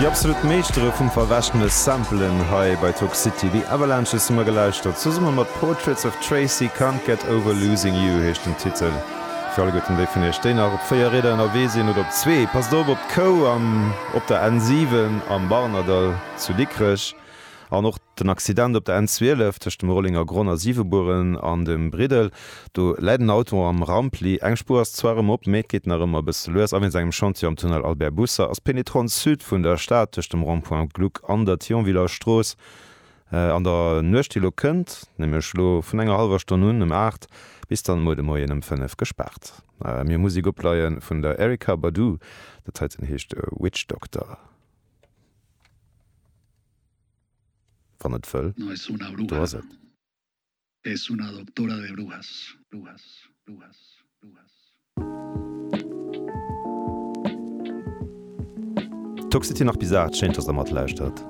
Déi absolut Meeschtere vum verwäschene Samplen hei bei Toxcity, The Avalanches hu mer gelauschtert, zesumme mat Portraits of Tracy, Can't Get Over Losing You heescht den Titel. Fir alleguerten déi vun iech, déi nach op 4 Rieder ënnerwee sinn oder op zwee, passt op op d'Kou am op der N7 am Barnerdall zu Dikrech an och Den Accident op der N 12 tëscht dem Rollenger Gronn a Siwebueren an dem Briddel. Do läit en Auto am Rampli. Eng Spuer ass zwar erëm op, mee et geet nach ëmmer e bësse lues. A wéinst engem Chantier am Tunnel Albert Busser ass d'Pénétrante Sud vun der Stad tëscht dem Rond-point Gluck an der Thionviller Strooss an der Nuecht, déi elo kënnt, nämlech elo vun enger hallwer Stonn un ëm 8 bis dann muer de Moien ëm 5 gespaart. Mir hu Musek opleie vun der Erykah Badu. Dat heiten heescht Witch Doctor. Wann et wëll, No es una do bruja, ass et. es una doctora de brujas, brujas, brujas, brujas. Toxity nach bis 8, schéin dass der matlauschtert.